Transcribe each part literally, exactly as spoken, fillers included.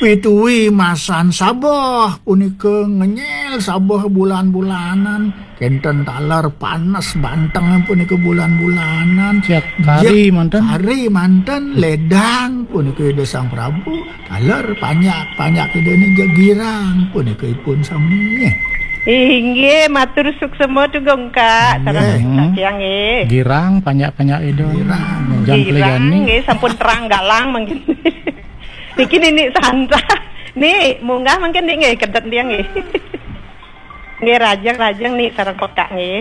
Pitui masan sabeh punika ngenyel sabeh bulan-bulanan. Kenten taler panes banteng punika bulan-bulanan. Cek kari manten. Kari manten ledang punika Ida Sang Prabu. Taler panjak-panjak Ida ni girang punika ipun sami. Inggih, matur suksema tu Gongka. Sareng Kak Tiang nggih. Girang panjak-panjak Ida. Girang. Jam Girang pelegani. Nggih, sampun terang galang mangkin. Niki Nini Santa. Ni, munggah mangkin Ni nggih, kedet dia nggih. Nggih, rajeng-rajeng Ni sareng pekak nggih.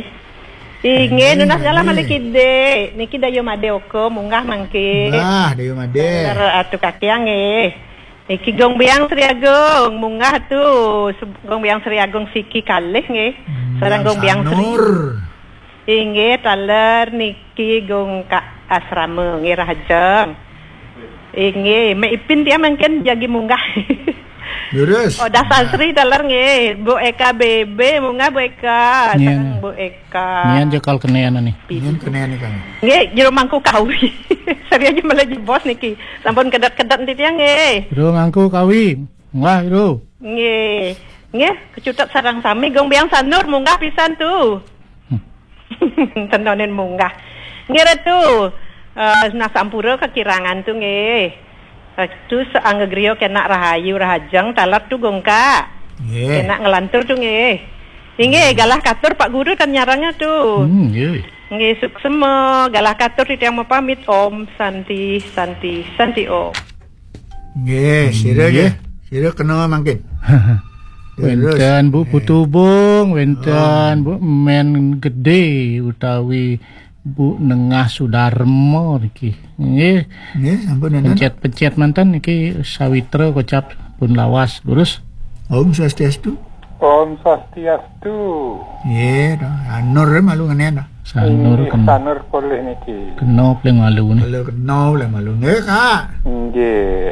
Inggih, nunas galah malih Kide. Niki Dayu Made Oka, munggah mangkin. Bah, Dayu Made. Atu Kak Tiang nggih. Niki Gong Biang Sri Agung, munggah tu. Se-, Gong Biang Sri Agung siki kalih nggih. Hmm, Sareng Gong Biang Sri. Inggih, taler niki Gong Kak Asrama nggih rahajeng. Inggih, Mek Ipin tiang mangkin jagi munggah. Lurus. Oh, Das Asri taler nggih. Bu Eka B B munggah Bu Eka. Sareng Bu Eka. Nian jekal kenen ni. Nian kenen ni kan. Nggih, jero mangku kawi. Sari aja malah jebos niki. Sampun kedet-kedet nanti tiang nggih. Jero mangku kawi. Munggah, Jero. Nggih. Nggih, kecutet sareng sami Gong Biang Sanur munggah pisan tu. Hmm. Tenonin munggah. Nggih, Ratu. Eh, nah sampura kekirangan tu nggih. Ratu seangga griya kenak rahayu rahajeng taler tu Gongka. Nggih. Kenak ngelantur tu nggih. Inggih, galah katur Pak Guru tan nyaranga tu. Hmm, nggih. Nggih, suksema. Galah katur titiang mapamit. Om Santi, Santi, Santi Om. Nggih, sira nggih. Sira kena mangkin. Terus. Wenten Bu Putubung, wenten Bu Men Gede utawi Bu Nengah Sudarma niki. Nggih. Nggih, sampun nenten. Pencet-pencet manten niki sawitra kocap pun lawas, lurus. Om Swastiastu. Om Swastiastu. Nggih, to. Sanur malu ngenen to. Sanur Inggih, kena. Sanur polih niki. Kena paling malu ni. Kalau kena paling malu. Nggih, Kak. Nggih.